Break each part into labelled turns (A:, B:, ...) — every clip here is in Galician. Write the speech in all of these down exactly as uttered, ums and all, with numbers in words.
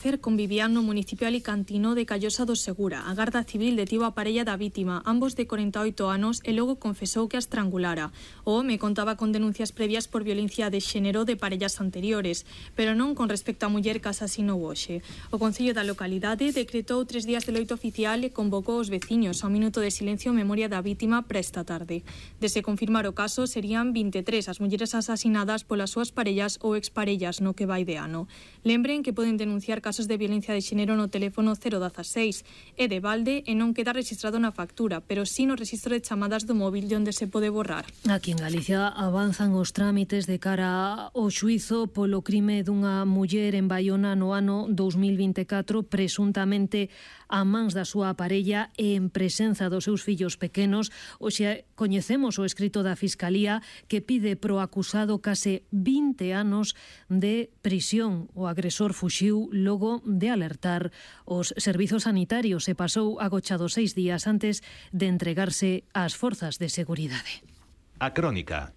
A: Convivían no municipio alicantino de Callosa do Segura. A Garda Civil detivo a parella da vítima, ambos de corenta e oito anos, e logo confesou que a estrangulara. O home contaba con denuncias previas por violencia de xénero de parellas anteriores, pero non con respecto á muller que asasinou hoxe. O Concello da localidade decretou tres días de loito oficial e convocou os veciños a un minuto de silencio en memoria da vítima para esta tarde. De se confirmar o caso, serían vinte e tres as mulleres asasinadas polas súas parellas ou exparellas no que vai de ano. Lembren que poden denunciar casos de violencia de xénero no teléfono cero dieciséis. É de balde e non queda registrado na factura, pero sí no registro de chamadas do móvil de onde se pode borrar.
B: Aquí en Galicia avanzan os trámites de cara ao xuízo polo crime dunha muller en Baiona no ano dous mil vinte e catro, presuntamente a mans da súa parella e en presenza dos seus fillos pequenos. Hoxe coñecemos o escrito da Fiscalía que pide pro acusado case vinte anos de prisión. O agresor fuxiu logo de alertar os servizos sanitarios e pasou agochado seis días antes de entregarse ás forzas de seguridade.
C: A Crónica.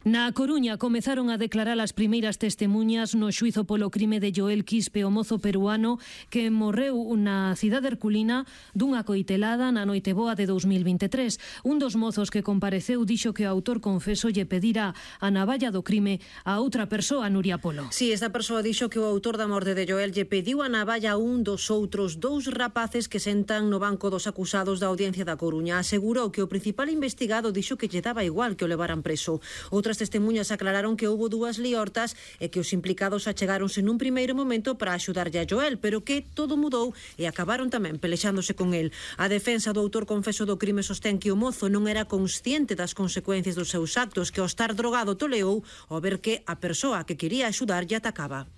B: Na Coruña comezaron a declarar as primeiras testemuñas no xuízo polo crime de Joel Quispe, o mozo peruano que morreu na cidade herculina dunha coitelada na noite boa de dous mil vinte e tres. Un dos mozos que compareceu dixo que o autor confeso lle pedira a navalla do crime a outra persoa, Nuria Polo.
D: Si, esta persoa dixo que o autor da morte de Joel lle pediu a navalla a un dos outros dous rapaces que sentan no banco dos acusados da Audiencia da Coruña. Asegurou que o principal investigado dixo que lle daba igual que o levaran preso. Outras As testemuñas aclararon que houbo dúas liortas e que os implicados achegáronse nun primeiro momento para axudarlle a Joel, pero que todo mudou e acabaron tamén pelexándose con el. A defensa do autor confeso do crime sostén que o mozo non era consciente das consecuencias dos seus actos, que ao estar drogado toleou ao ver que a persoa que quería axudar lle atacaba.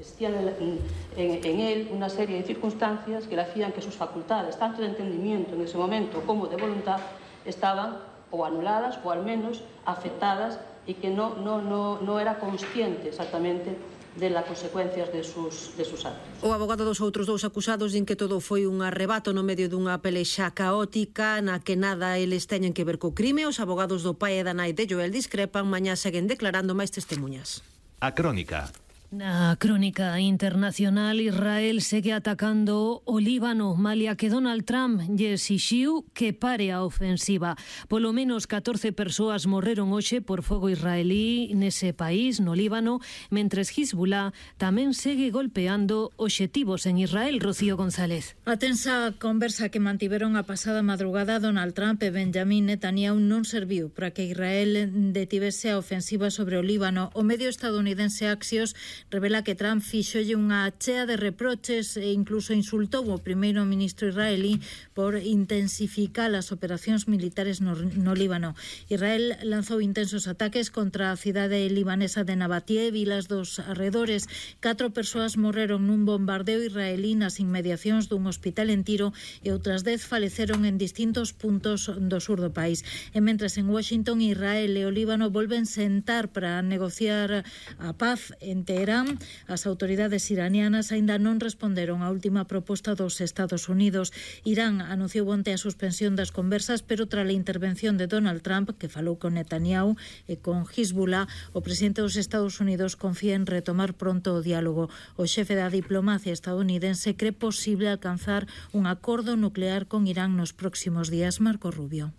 E: Existían en, en, en él una serie de circunstancias que le hacían que sus facultades, tanto de entendimiento en ese momento como de voluntad, estaban ou anuladas ou al menos afectadas e que no, no, no, no era consciente exactamente de las consecuencias de sus, de sus actos.
D: O abogado dos outros dous acusados din que todo foi un arrebato no medio dunha pelexa caótica na que nada eles teñen que ver co crime. Os abogados do pai e da nai de Joel discrepan, mañá seguen declarando máis testemuñas.
C: A Crónica.
B: Na Crónica internacional, Israel segue atacando o Líbano, malia que Donald Trump lle exixiu que pare a ofensiva. Polo menos catorce persoas morreron hoxe por fogo israelí nese país, no Líbano, mentres Hezbollah tamén segue golpeando obxectivos en Israel. Rocío González.
F: A tensa conversa que mantiveron a pasada madrugada Donald Trump e Benjamin Netanyahu non serviu para que Israel detivese a ofensiva sobre o Líbano. O medio estadounidense Axios revela que Trump fixolle unha chea de reproches e incluso insultou o primeiro ministro israelí por intensificar as operacións militares no, no Líbano. Israel lanzou intensos ataques contra a cidade libanesa de Nabatie e vilas dos arredores. Catro persoas morreron nun bombardeo israelí nas inmediacións dun hospital en Tiro e outras dez faleceron en distintos puntos do sur do país. E mentres en Washington, Israel e o Líbano volven sentar para negociar a paz en Teherán, as autoridades iranianas aínda non responderon á última proposta dos Estados Unidos. Irán anunciou onte a suspensión das conversas, pero tras a intervención de Donald Trump, que falou con Netanyahu e con Hezbollah, o presidente dos Estados Unidos confía en retomar pronto o diálogo. O xefe da diplomacia estadounidense cree posible alcanzar un acordo nuclear con Irán nos próximos días. Marco Rubio.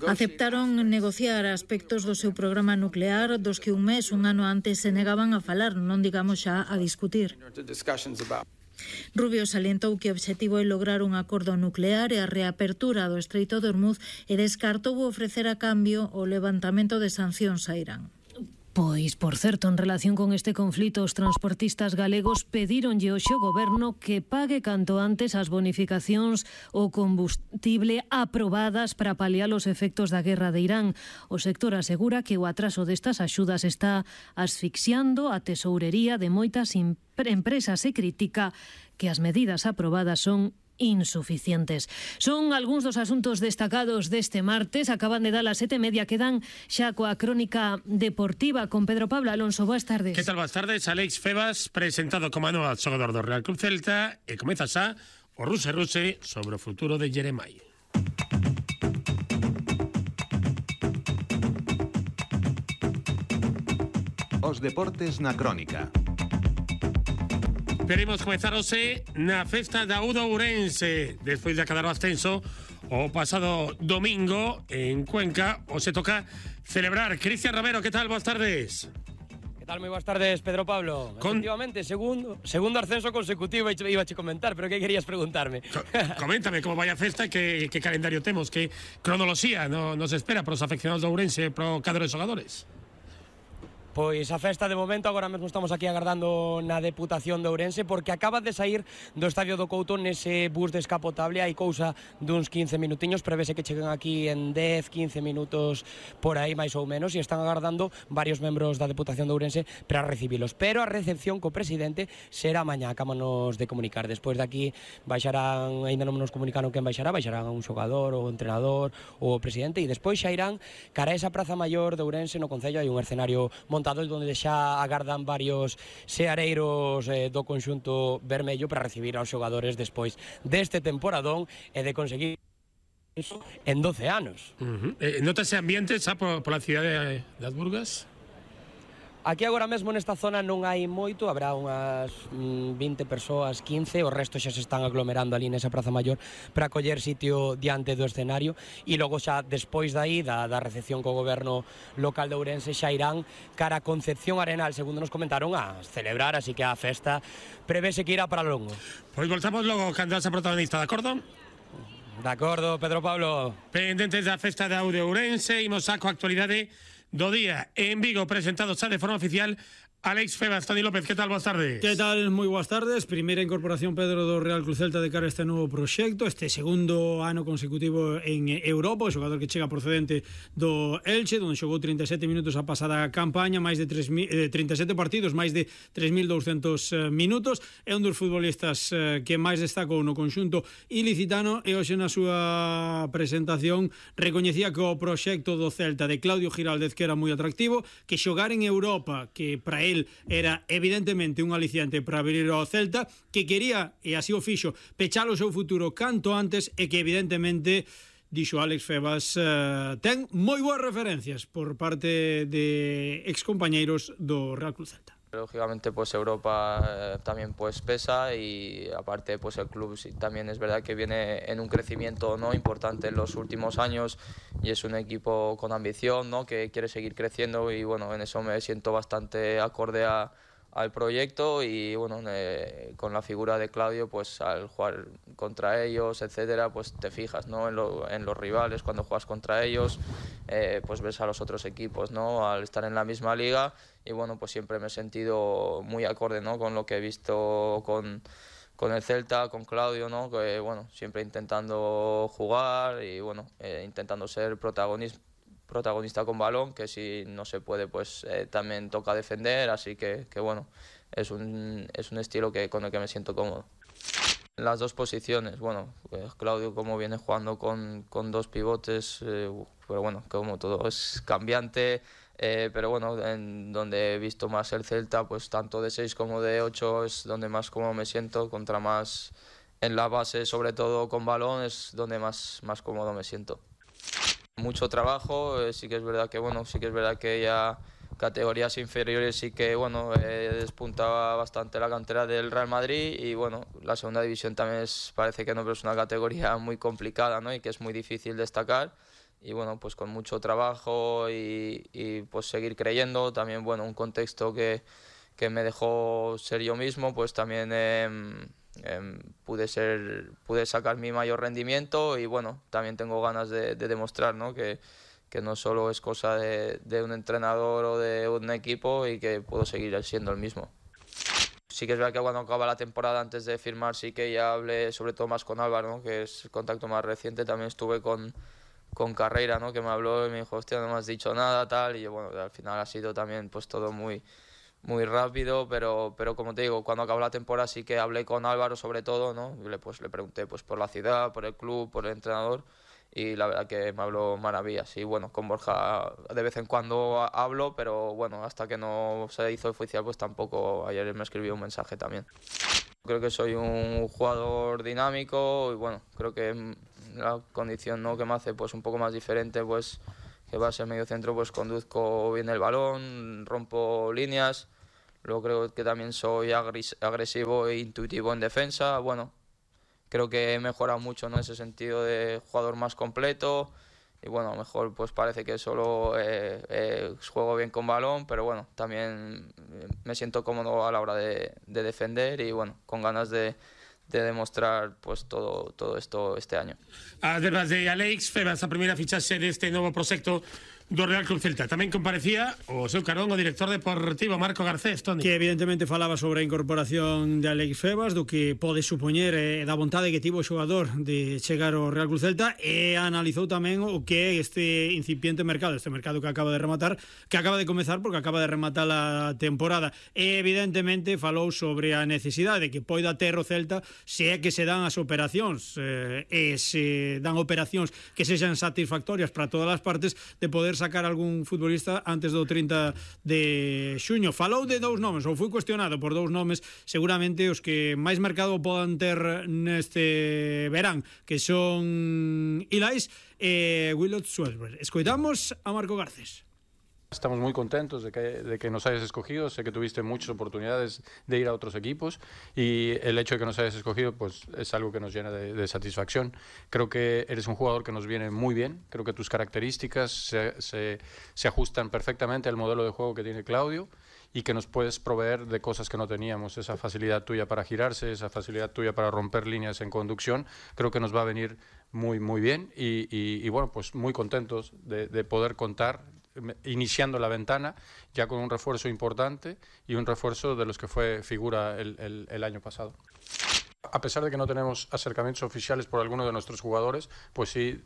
F: Aceptaron negociar aspectos do seu programa nuclear dos que un mes, un ano antes se negaban a falar, non digamos xa a discutir. Rubio salientou que o obxectivo é lograr un acordo nuclear e a reapertura do Estreito de Hormuz e descartou ofrecer a cambio o levantamento de sancións a Irán.
B: Pois, por certo, en relación con este conflito, os transportistas galegos pedironlle hoxe ao goberno que pague canto antes as bonificacións ao combustible aprobadas para paliar os efectos da guerra de Irán. O sector asegura que o atraso destas axudas está asfixiando a tesourería de moitas empresas e critica que as medidas aprobadas son insuficientes. Son algúns dos asuntos destacados deste martes. Acaban de dar as sete e media, quedan xa coa crónica deportiva con Pedro Pablo Alonso. Boas tardes.
G: Que tal, boas tardes? Alex Febas, presentado como novo xogador do Real Club Celta, e comeza xa o Ruse Ruse sobre o futuro de Jeremai.
C: Os deportes na crónica.
G: Veremos comezar hoxe na festa da U do Ourense. Despois de acabar o ascenso o pasado domingo en Cuenca, o se toca celebrar. Cristian Romero, que tal? Boas tardes.
H: Que tal? Moi boas tardes, Pedro Pablo. Con... Efectivamente, segundo, segundo ascenso consecutivo iba a comentar, pero que querías preguntarme?
G: Co coméntame como vai a festa e que, que calendario temos, que cronoloxía no, nos espera para os afeccionados do Ourense e para o cadro de xogadores.
H: Pois a festa de momento, agora mesmo estamos aquí agardando na Deputación de Ourense porque acaba de sair do Estadio do Couto nese bus descapotable, hai cousa duns quince minutiños, prevese que cheguen aquí en dez, quince minutos por aí máis ou menos, e están agardando varios membros da Deputación de Ourense para recibilos, pero a recepción co presidente será mañá, acámonos de comunicar. Despois de aquí baixarán, ainda non nos comunicaron quen baixará, baixarán un xogador, o entrenador, ou o presidente, e despois xa irán cara a esa Praza Maior de Ourense no Concello. Hai un escenario montado onde xa agardan varios seareiros eh, do conxunto vermello para recibir aos xogadores despois deste temporadón e de conseguir iso en doce anos.
G: Uh -huh. eh, Notase ambiente xa por, por la cidade das Burgas?
H: Aquí agora mesmo nesta zona non hai moito, habrá unhas mm, vinte persoas, quince, o resto xa se están aglomerando ali nesa Praza Maior para coller sitio diante do escenario, e logo xa despois dai da, da recepción co goberno local de Ourense xa irán cara a Concepción Arenal, segundo nos comentaron, a celebrar, así que a festa prevese que irá para longo.
G: Pois voltamos logo cando esa protagonista, de acordo?
H: De acordo, Pedro Pablo.
G: Pendentes da festa da U de Ourense, imos a coa actualidade do día en Vigo, presentado xa de forma oficial Alex Febas. Toni López, que tal? Boas tardes.
I: Que tal? Moi boas tardes. Primeira incorporación, Pedro, do Real Cruz Celta de cara a este novo proxecto, este segundo ano consecutivo en Europa, o xogador que chega procedente do Elche, onde xogou trinta e sete minutos a pasada campaña, máis de tres mil, eh, trinta e sete partidos, máis de tres mil douscentos minutos. É un dos futbolistas eh, que máis destacou no conxunto ilicitano, e hoxe na súa presentación recoñecía que o proxecto do Celta de Claudio Giraldez que era moi atractivo, que xogar en Europa, que para él era evidentemente un aliciante para abrir ao Celta, que quería, e así o fixo, pechar o seu futuro canto antes, e que evidentemente, dixo Alex Febas, eh, ten moi boas referencias por parte de excompañeiros do Real Cruz Celta.
J: Lógicamente pues Europa eh, también pues pesa, y aparte pues el club sí, también es verdad que viene en un crecimiento no importante en los últimos años, y es un equipo con ambición, ¿no? Que quiere seguir creciendo, y bueno, en eso me siento bastante acorde a, al proyecto, y bueno, eh, con la figura de Claudio, pues al jugar contra ellos, etcétera, pues te fijas, ¿no? En, lo, en los rivales, cuando juegas contra ellos, eh, pues ves a los otros equipos, ¿no? Al estar en la misma liga, y bueno, pues siempre me he sentido muy acorde, ¿no? Con lo que he visto con, con el Celta, con Claudio, ¿no? Que bueno, siempre intentando jugar y bueno, eh, intentando ser protagonista protagonista con balón, que si no se puede pues eh, también toca defender, así que, que bueno, es un, es un estilo que, con el que me siento cómodo. En las dos posiciones, bueno, pues Claudio como viene jugando con, con dos pivotes, eh, pero bueno, como todo es cambiante, eh, pero bueno, en donde he visto más el Celta, pues tanto de seis como de ocho es donde más cómodo me siento, contra más en la base, sobre todo con balón, es donde más, más cómodo me siento. Mucho trabajo, eh, sí que es verdad que bueno, sí que es verdad que ya categorías inferiores sí que bueno, eh, despuntaba bastante la cantera del Real Madrid, y bueno, la segunda división también es, parece que no, pero es una categoría muy complicada, ¿no? Y que es muy difícil destacar, y bueno, pues con mucho trabajo y, y pues seguir creyendo, también bueno, un contexto que, que me dejó ser yo mismo, pues también eh, Eh, pude ser pude sacar mi mayor rendimiento, y bueno, también tengo ganas de, de demostrar, ¿no? que, que no solo es cosa de, de un entrenador o de un equipo, y que puedo seguir siendo el mismo. Sí que es verdad que cuando acaba la temporada, antes de firmar, sí que ya hablé sobre todo más con Álvaro, ¿no? Que es el contacto más reciente. También estuve con, con Carreira, ¿no? Que me habló y me dijo, hostia, no me has dicho nada, tal, y yo, bueno, al final ha sido también pues todo muy muy rápido, pero, pero como te digo, cuando acabó la temporada sí que hablé con Álvaro sobre todo, ¿no? Y le, pues, le pregunté pues, por la ciudad, por el club, por el entrenador, y la verdad que me habló maravillas. Y bueno, con Borja de vez en cuando hablo, pero bueno, hasta que no se hizo oficial, pues tampoco. Ayer me escribió un mensaje también. Creo que soy un jugador dinámico, y bueno, creo que la condición, ¿no? que me hace pues un poco más diferente, pues que va a ser medio centro, pues conduzco bien el balón, rompo líneas. Luego creo que también soy agresivo e intuitivo en defensa. Bueno, creo que he mejorado mucho, ¿no?, ese sentido de jugador más completo. Y bueno, a lo mejor pues parece que solo eh, eh, juego bien con balón, pero bueno, también me siento cómodo a la hora de, de defender y bueno, con ganas de, de demostrar pues todo, todo esto este año.
G: Además de Alex Febas, a primeira fichaxe deste novo proxecto do Real Club Celta. Tamén comparecía o seu carón o director deportivo Marco Garcés, Toni.
I: Que evidentemente falaba sobre a incorporación de Alex Febas, do que pode supoñer eh, da vontade que tivo o xogador de chegar ao Real Club Celta, e analizou tamén o que é este incipiente mercado, este mercado que acaba de rematar, que acaba de comezar porque acaba de rematar a temporada. E evidentemente falou sobre a necesidade que poida ter o Celta se é que se dan as operacións eh, e se dan operacións que sexan satisfactorias para todas as partes, de poder sacar algún futbolista antes do trinta de xuño. Falou de dous nomes, ou foi cuestionado por dous nomes, seguramente os que máis mercado podan ter neste verán, que son Ilais e Willot Suelberg. Escoitamos a Marco Garcés.
K: Estamos muy contentos de que, de que nos hayas escogido. Sé que tuviste muchas oportunidades de ir a otros equipos y el hecho de que nos hayas escogido pues es algo que nos llena de, de satisfacción. Creo que eres un jugador que nos viene muy bien. Creo que tus características se, se, se ajustan perfectamente al modelo de juego que tiene Claudio y que nos puedes proveer de cosas que no teníamos. Esa facilidad tuya para girarse, esa facilidad tuya para romper líneas en conducción, creo que nos va a venir muy, muy bien y, y, y bueno, pues muy contentos de, de poder contar iniciando la ventana ya con un refuerzo importante y un refuerzo de los que fue figura el, el, el año pasado. A pesar de que no tenemos acercamientos oficiales por algunos de nuestros jugadores, pues sí,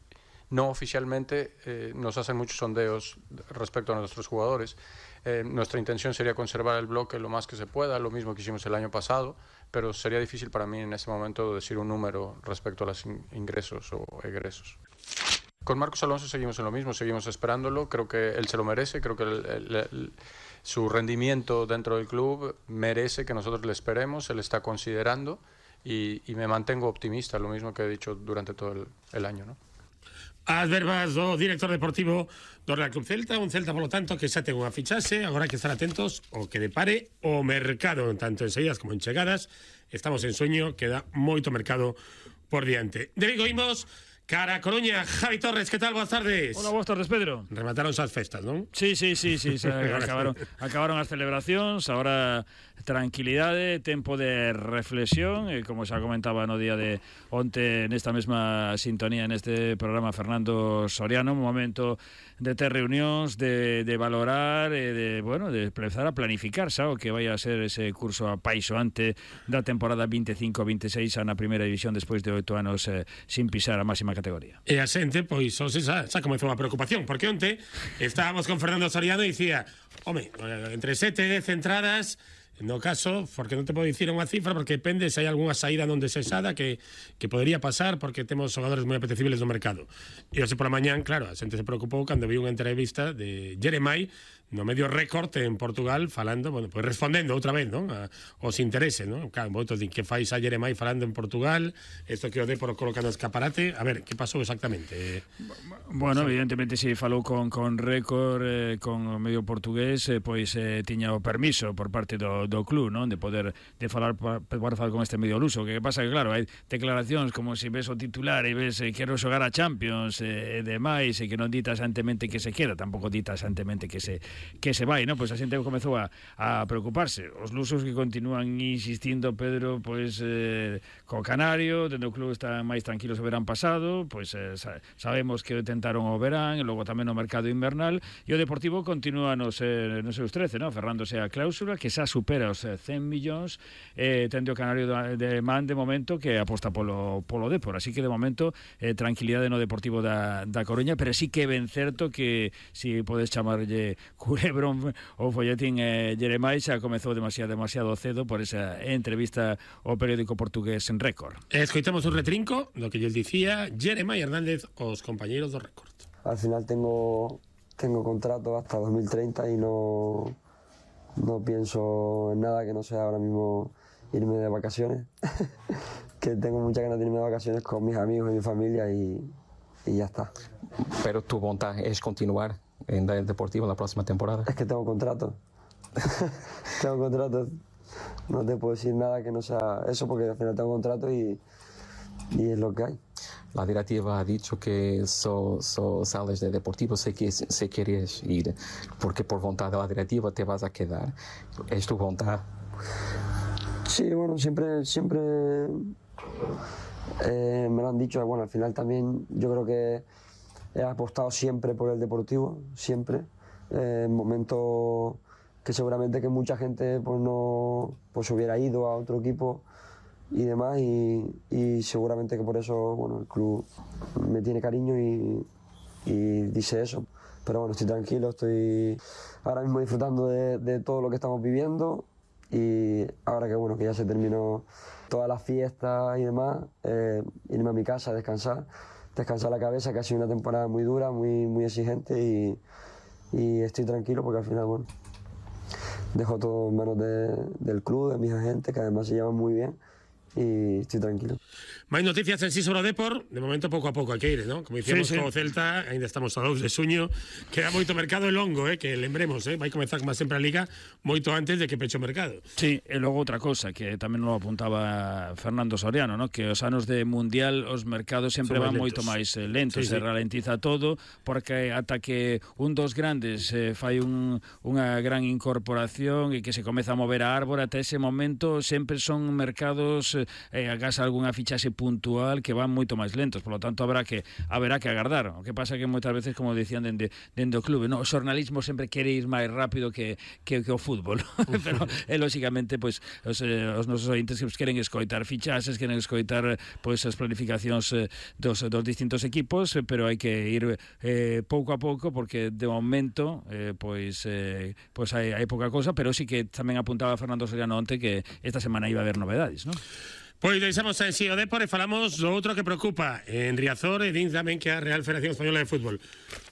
K: no oficialmente eh, nos hacen muchos sondeos respecto a nuestros jugadores. Eh, nuestra intención sería conservar el bloque lo más que se pueda, lo mismo que hicimos el año pasado, pero sería difícil para mí en este momento decir un número respecto a los ingresos o egresos. Con Marcos Alonso seguimos en lo mismo, seguimos esperándolo, creo que él se lo merece, creo que el, el, el, su rendimiento dentro del club merece que nosotros le esperemos, él está considerando y, y me mantengo optimista, lo mismo que he dicho durante todo el, el año, ¿no?
G: As verbas do director deportivo do Real Club Celta, un Celta, polo tanto, que xa ten unha fichaxe, agora hai que estar atentos ao que depare o mercado, tanto en saídas como en chegadas. Estamos en sueño, queda moito mercado por diante. De Vigo imos cara a Coruña. Javi Torres, ¿qué tal? Buenas tardes.
L: Hola, buenas tardes, Pedro.
G: Remataron as festas, non?
L: Sí, sí, sí, sí, se acabaron, acabaron as celebracións, agora tranquilidade, tempo de reflexión, e como xa comentaba no día de onte nesta mesma sintonía neste programa Fernando Soriano, un momento de ter reunións, de, de valorar e de, bueno, de empezar a planificar xa o que vai a ser ese curso apaixoante da temporada veinticinco veintiséis na primeira división despois de oito anos eh, sin pisar a máxima categoría.
G: E a xente, pois, hoxe xa, xa comezou a preocupación, porque onte estábamos con Fernando Soriano e dicía, home, entre sete e dez entradas, no caso, porque non te podo dicir unha cifra, porque depende se hai algunha saída non desexada que, que podería pasar, porque temos xogadores moi apetecibles no mercado. E hoxe pola mañán, claro, a xente se preocupou cando vi unha entrevista de Jeremai no medio Récord en Portugal falando, bueno, pues respondendo outra vez, non? A, os intereses, non? Claro, moitos din que fais a Jeremai falando en Portugal, isto que o Dépor coloca no escaparate. A ver, que pasou exactamente?
L: Bueno, evidentemente si falou con, con Récord, eh, con o medio portugués, eh, pois eh, tiña o permiso por parte do, do club, non? De poder de falar, poder falar con este medio luso. Que pasa que, claro, hai declaracións como se si ves o titular e ves eh, quero xogar a Champions e eh, demais, e que non dita xantemente que se queda, tampouco dita xantemente que se que se vai, non? Pois a xente comezou a, a preocuparse. Os lusos que continúan insistindo, Pedro, pois eh, co Canario, dentro do club están máis tranquilos o verán pasado, pois eh, sabemos que tentaron o verán, e logo tamén o mercado invernal, e o Deportivo continúa nos, eh, nos seus trece, non? Ferrándose a cláusula, que xa supera os cen millóns, eh, tende o Canario de man de momento que aposta polo, polo Dépor, así que de momento eh, tranquilidade no Deportivo da, da Coruña, pero sí que ben certo que si podes chamarlle Culebrón o folletín eh, Jeremai xa comezou demasiado, demasiado cedo por esa entrevista ao periódico portugués en Récord.
G: Escoitamos un retrinco do que lles dicía Jeremai Hernández aos compañeiros do Récord.
M: Al final tengo, tengo contrato hasta dos mil treinta y no, no pienso en nada que no sea ahora mismo irme de vacaciones. Que tengo muchas ganas de irme de vacaciones con mis amigos y mi familia y, y ya está.
N: Pero tu voluntad es continuar en el Deportivo la próxima temporada.
M: Es que tengo contrato. tengo contrato, no te puedo decir nada que no sea eso porque al final tengo contrato y, y es lo que hay.
N: La directiva ha dicho que so, so sales de Deportivo si, si quieres ir, porque por voluntad de la directiva te vas a quedar. ¿Es tu voluntad?
M: Sí, bueno, siempre, siempre eh, me lo han dicho. Bueno, al final también yo creo que he apostado siempre por el Deportivo, siempre. Eh, en momentos que seguramente que mucha gente pues no pues hubiera ido a otro equipo y demás, y, y seguramente que por eso bueno, el club me tiene cariño y, y dice eso. Pero bueno, estoy tranquilo, estoy ahora mismo disfrutando de, de todo lo que estamos viviendo, y ahora que bueno que ya se terminó todas las fiestas y demás, eh, irme a mi casa a descansar, descansar la cabeza, que ha sido una temporada muy dura, muy, muy exigente, y, y estoy tranquilo porque al final bueno dejo todo en manos de, del club, de mis agentes, que además se llevan muy bien, y estoy tranquilo.
G: Máis noticias en sí sobre o Depor, de momento pouco a pouco hai que ir, ¿no? Como dicíamos sí, sí. co Celta, ainda estamos a dous de xuño, queda moito mercado e longo, eh, que lembremos, eh, vai comezar como sempre a Liga moito antes de que peche o mercado.
L: Sí, e logo outra cosa que tamén lo apuntaba Fernando Soriano, ¿no? Que os anos de Mundial os mercados sempre van moito máis lentos, sí, se sí. ralentiza todo, porque ata que un dos grandes eh, fai un, unha gran incorporación e que se comeza a mover a árbore, ata ese momento sempre son mercados eh, agás algunha fichaxe puntual que van moito máis lentos, por lo tanto habrá que haberá que agardar. O que pasa que moitas veces, como decían dende, dende o clube, no, o xornalismo sempre quere ir máis rápido que, que, que o fútbol. Pero, e, lóxicamente, pois, os, eh, os nosos ointes que queren escoitar fichaxes, queren escoitar pois, as planificacións eh, dos, dos distintos equipos, eh, pero hai que ir eh, pouco a pouco, porque de momento eh, pois, eh, pois hai, hai pouca cosa, pero sí que tamén apuntaba Fernando Soriano onte que esta semana iba a haber novedades, non?
G: Pois deixamos en si o Depor e falamos do outro que preocupa en Riazor e din tamén que a Real Federación Española de Fútbol.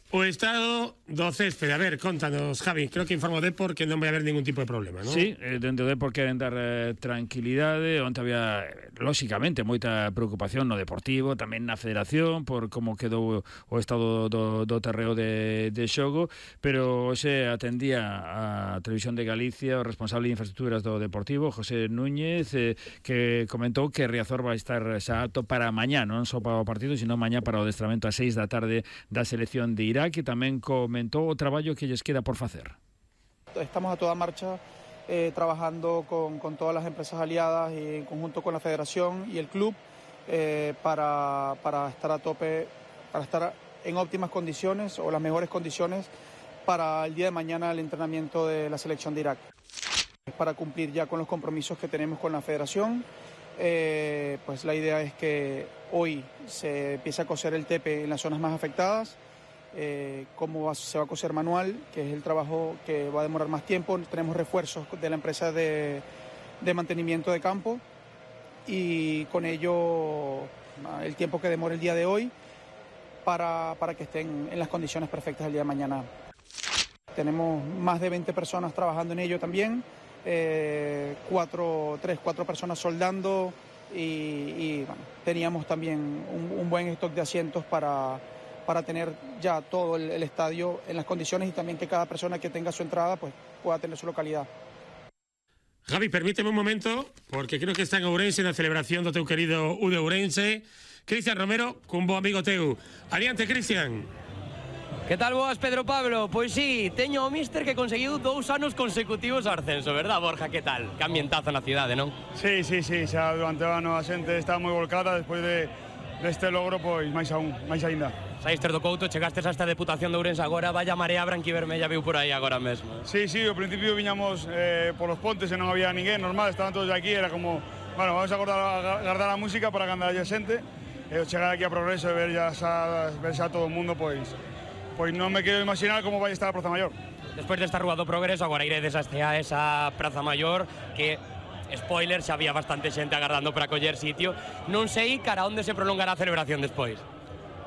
G: O estado do céspede, a ver, contanos, Javi, creo que informo o Depor que non vai haber ningún tipo de problema, non?
L: Sí, eh, dentro do Depor queren dar eh, tranquilidade, onde había, lóxicamente, moita preocupación no Deportivo, tamén na Federación, por como quedou o estado do, do terreo de, de xogo, pero hoxe atendía a Televisión de Galicia o responsable de infraestructuras do Deportivo, José Núñez, eh, que comentou que Riazor vai estar xa apto para mañá, non só para o partido, sino mañá para o adestramento a seis da tarde da selección de Irán, que tamén comentou o traballo que lles queda por facer.
O: Estamos a toda marcha eh, trabajando con, con todas las empresas aliadas y en conjunto con la federación y el club eh, para, para estar a tope, para estar en óptimas condiciones o las mejores condiciones para el día de mañana el entrenamiento de la selección de Irak. Para cumplir ya con los compromisos que tenemos con la federación, eh, pues la idea es que hoy se empiece a coser el tepe en las zonas más afectadas. Eh, cómo va, se va a coser manual, que es el trabajo que va a demorar más tiempo. Tenemos refuerzos de la empresa de, de mantenimiento de campo y con ello el tiempo que demore el día de hoy para, para que estén en las condiciones perfectas el día de mañana. Tenemos más de veinte personas trabajando en ello también, eh, cuatro, tres, cuatro personas soldando y, y bueno, teníamos también un, un buen stock de asientos para para tener ya todo el, el estadio en las condiciones y también que cada persona que tenga su entrada pues pueda tener su localidad.
G: Javi, permíteme un momento, porque creo que está en Ourense na celebración do teu querido U de Ourense. Cristian Romero, cun bo amigo teu. Adiante, Cristian.
H: Que tal boas, Pedro Pablo? Pois sí, teño o míster que conseguiu dous anos consecutivos ao ascenso, verdad, Borja? Que tal? Que ambientazo na cidade, non?
P: Sí, sí, sí, xa durante o ano a xente está moi volcada despois de deste logro, pois máis aún, máis aínda.
H: Saíste do Couto, chegastes a esta Deputación de Ourense agora, vaya marea branquivermella viu por aí agora mesmo.
P: Sí, sí, ao principio viñamos eh, por os pontes e non había ninguén, normal, estaban todos aquí, era como, bueno, vamos a guardar, guardar a música para cando haya xente, e chegar aquí a Progreso e ver xa, ver xa todo o mundo, pois, pois non me quero imaginar como vai estar a Praza Maior.
H: Despois desta rúa do Progreso, agora iredes hasta esa Praza Maior, que spoiler, xa había bastante xente agardando para coller sitio. Non sei cara onde se prolongará a celebración despois.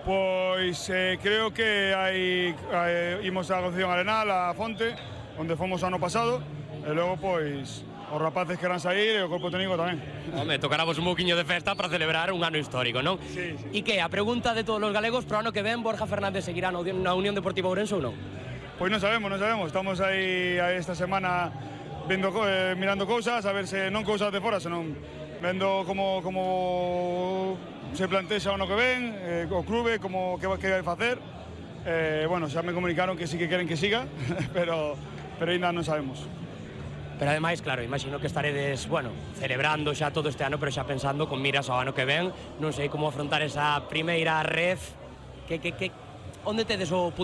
P: Pois eh, creo que hai, hai imos a Concepción Arenal, a Fonte, onde fomos ano pasado, e logo pois os rapaces queran sair e o corpo técnico tamén.
H: Home, tocaramos un pouquiño de festa para celebrar un ano histórico, non?
P: Sí, sí.
H: E que a pregunta de todos os galegos, pro ano que ven, Borja Fernández seguirá na Unión Deportiva Ourense ou non?
P: Pois non sabemos, non sabemos. Estamos aí esta semana vendo, eh, mirando cousas, a ver se non cousas de fora, senón vendo como, como se plantexa o ano que ven, eh, o clube, como que, que vai facer. Eh, bueno, xa me comunicaron que sí que queren que siga, pero, pero ainda non sabemos.
H: Pero ademais, claro, imagino que estaredes, bueno, celebrando xa todo este ano, pero xa pensando con miras ao ano que ven. Non sei como afrontar esa primeira ref. Que, que, que, onde tedes o